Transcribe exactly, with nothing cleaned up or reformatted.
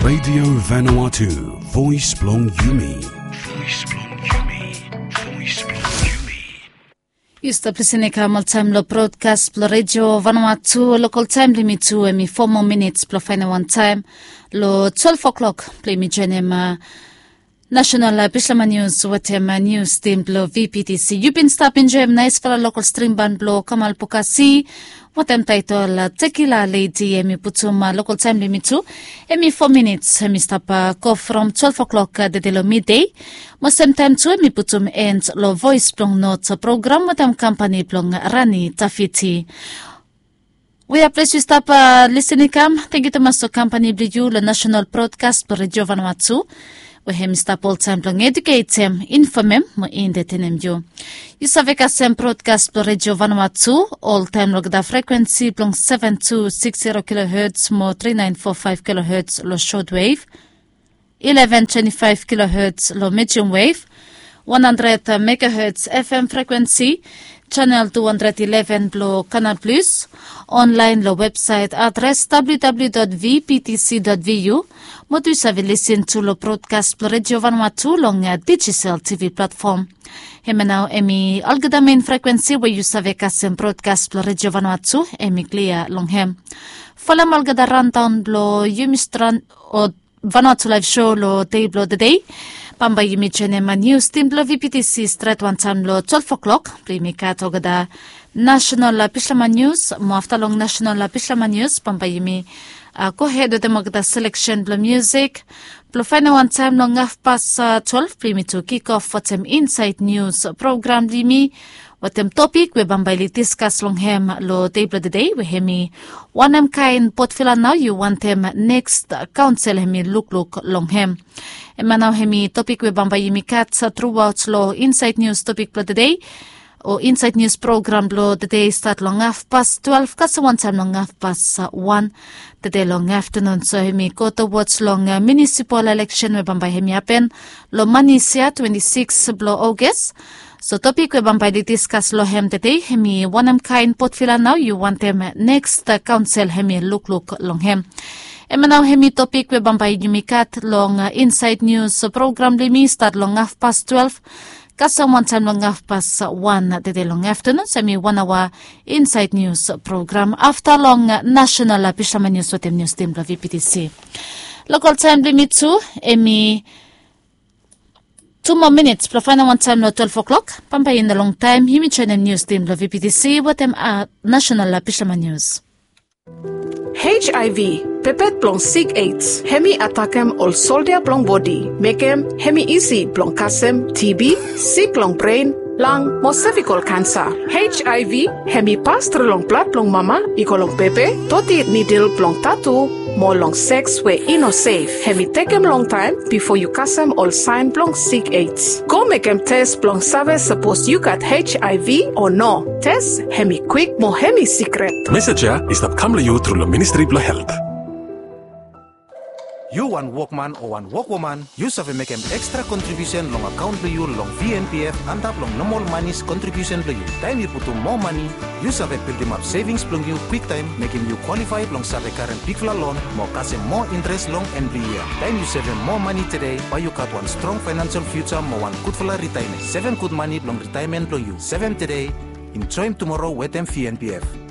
Radio Vanuatu, voice blong yumi. Voice blong yumi, voice blong yumi. Yu stap lisin i kam oltaem long brodkas blong Redio Vanuatu. Lokol taem blong yumi tu hem i fo moa minits blong faenem wan taem long twelve o'clock blong yumi joenem National Bislama Nius wetem nius tim blong V P T C. Yu bin stap enjoem naesfala lokol strim ban blong Kamal Bukasi wetem taetol Tekila Ledi. Hem i putum lokol taem blong yumi tu hem i fo minits. Hem i stap go from twelve o'clock tede long midei. Mo semtaem tu hem i putum en long Voes blong Not program wetem kampani blong Rani Tafiti. Wea ples yu stap lisin i kam, tangkiu tumas long kampani blong yu long National Brodkas blong Redio Vanuatu, we hem i stap oltaem blong eduketem, infomem mo entetenem yu. Yu save kasem brodkas blong Redio Vanuatu oltaem long olgeta frekuensi blong seven two six zero kilohertz mo three nine four five kilohertz long shortwave, eleven twenty-five kilohertz long medium wave, one hundred megahertz F M frekuensi, channel two hundred eleven blong Canal Plus, online long websaet adres W W W dot V P T C dot V U, mo tu yu save lisin tu long brodkas blong Redio Vanuatu long Digicel T V platfom. Hemia nao hem i olgeta mein frekuensi we yu save kasem brodkas blong Redio Vanuatu hem i klia long hem. Folem olgeta randaon blong yumi stran o Vanuatu Laev Sho long dei blong tedei. Bambae yumi joenem nius tim blong V P T C stret wantaem long twelve o'clock blong yumi gat olgeta National Bislama Nius. Mo afta long National Bislama Nius bambae yumi gohed wetem olgeta seleksen blong miusik blong faenem wan taem long hafpas twelve blong yumi tu kikof wetem Insaed Nius program blong yumi wetem topik we bambae oli diskas long hem long dei blong tedei we hem i wanem kaen potfala nao yu wantem neks kaonsel hem i lukluk long hem. Hemia nao hem i topik we bambae yumi gat truaot long Insaed Nius topik blong tedei o Insaed Nius program blong tedei stat long hafpas twelve kasem wantaem long hafpas wan tede long aftanun. So hem i go towards long munisipal eleksen we bambae hem i hapen long manis ya twenti sikis blong Oges. So topik we bambae oli diskas long hem tede hem i wanem kaen potfala nao yu wantem neks kaonsel hem i lukluk long hem. Hemia nao hem i topik we bambae yumi gat long Insaed Nius program blong yumi stat long hafpas twelve kasem wantaem long hafpas wan tede long aftanun. So hem i wan aoa Insaed Nius program afta long Nasenal Bislama Nius wetem nius tim blong V P T C. Lokol taem blong yumi tu hem i tu moa minits blong faenem wan taem long twelve o'clock. Bambae i no longtaem yumi joenem nius tim blong V P T C wetem Nasenal Bislama Nius. H I V, pepet blong sik AIDS, hem i atakem ol soldia blong bodi, mekem hem i isi blong kasem T B, sik long bren, lang mo sevikol kansa. H I V hem i pas tru long blad blong mama i go long bebe, doti nidil blong tatu, mo long seks we i no sef. Hem i tekem longtaem bifo yu kasem ol saen blong sik AIDS. Go mekem tes blong save sapos yu gat H I V o no. Tes hem i kwik mo hem i sikret. Mesej ya i stap kam long yu tru long Ministri blong Helt. Yu wan wokman o wan wokwoman, yu save mekem ekstra kontribiusen long akaon blong yu long V N P F antap long nomol manis kontribiusen blong yu. Taem yu putum moa mani, yu save bildimap sevings blong yu kwiktaem, mekem yu kwalifae blong save karem bigfala lon mo kasem moa intres long en blong yia. Taem yu sevem moa mani tede, bae yu gat wan strong faenansel fiuja mo wan gudfala ritaemen. Sevem gud mani blong ritaemen blong yu. Sevem tede, enjoem tumoro wetem V N P F.